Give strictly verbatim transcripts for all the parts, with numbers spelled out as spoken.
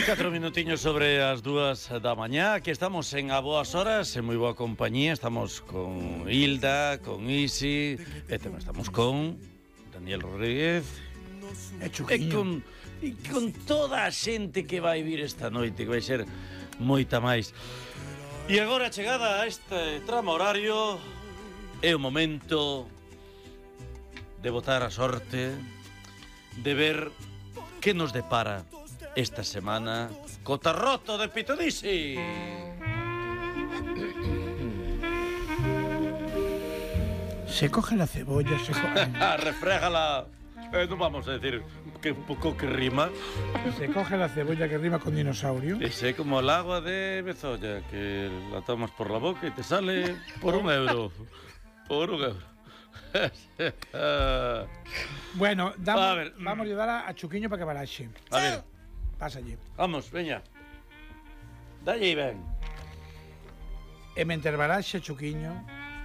Catro minutiños sobre as dúas da mañá. Aquí estamos en A Boas Horas, en moi boa compañía. Estamos con Hilda, con Isi, e tamén estamos con Daniel Rodríguez E e Chuquiño. con, e con toda a xente que vai vir esta noite, que vai ser moita máis. E agora, chegada a este tramo horario, é o momento de botar a sorte, de ver que nos depara esta semana co tarroto de Pitodisi. Se coge la cebolla, se coge... Refrégala. Eh, non vamos a decir que un pouco que rima. se coge la cebolla que rima con dinosaurio. Ese como el agua de Bezoya, que la tomas por la boca y te sale por un euro. Por un euro. Bueno, damos, A ver. vamos a ayudar a, a Chuquiño para que baraxe. A ver, Pasa allí. vamos, veña. Dalle y ven. E mentre baraxe Chuquiño,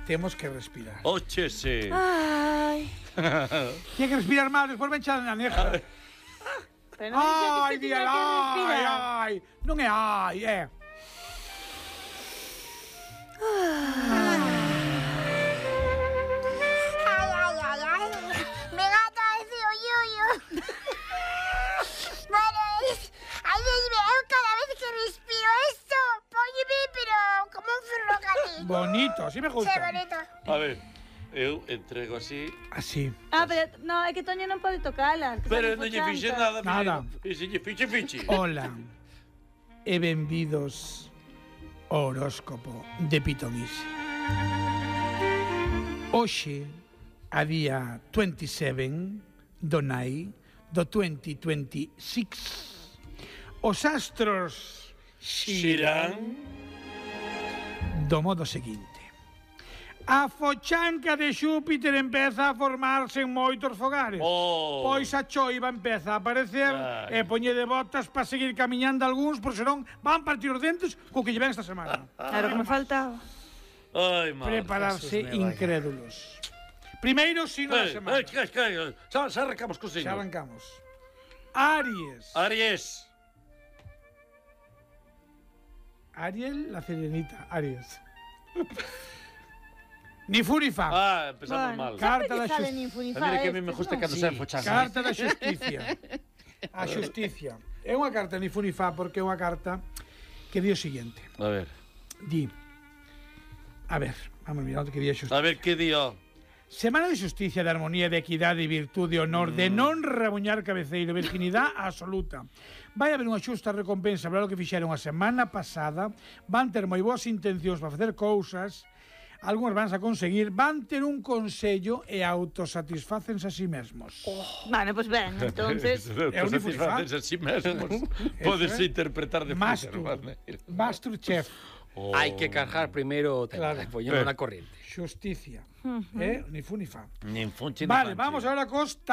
temos que respirar. Óchese. Ay, Tiene que respirar más, despois ven xa na neja. pero non dixo que Ai, se dial, tiña que ai, respirar. ai. Non é ai, é. Ay, ay, ay, ay. Me gata ese hoyuyo. Bueno, es... Ay, Dios mío, cada vez que respiro esto, póñeme, pero como un ferrocarril. Bonito, así me Qué gusta. bonito. A ver, eu entrego así. Así. Ah, pero no, é que Toño non pode tocala. que Pero sabe non lle fo fixe chanta. nada. Nada. E se lle fixe, fixe. Hola e benvidos ao horóscopo de Pitodisi. Hoxe, a día veintisiete do Nai do veinte veintiséis, os astros Xirán. do modo seguinte. A fochanca de Xúpiter empeza a formarse en moitos fogares. Oh. Pois a choiva empeza a aparecer Ai. e poñe de botas para seguir camiñando algúns, por senón van partir os dentes co que lle ven esta semana. Claro que me faltaba. Ai, madre. Prepararse incrédulos. Primeiro signo da Eh, semana. eh, que, que, xa, xa arrancamos co Xa signo. arrancamos. Aries. Aries. Ariel, la serenita. Aries. Ni fu ni fa. Ah, empezamos Bueno, mal. Carta sempre da lle sale xus- nin fu nin A fa mí que a mí estes, me gusta non? cando se fochan. Carta da xusticia. A xusticia. É unha carta ni fu ni fa porque é unha carta que di o seguinte. A ver. Di. A ver, vamos a mirar o que di a xusticia. A ver que dio. Semana de xusticia, de armonía, de equidade, virtude, honor, de non rabuñar cabeceiro, virginidade absoluta. Vai haber unha xusta recompensa para o que fixeron a semana pasada, van ter moi boas intencións para facer cousas, algúns van a conseguir, van ter un consello e autosatisfácense a si mesmos. Bueno, pues ben, entonces... É un ifurifá. Satisfaces a sí mesmos. Podes é. interpretar de Mastur. muchas maneras. Masterchef. Oh. Hai que cargar primeiro o tema, Claro. poñendo Eh. na corriente. Xusticia. Eh? Ni fu ni fa. Nin funche, nin Vale, fanche. vamos ahora cos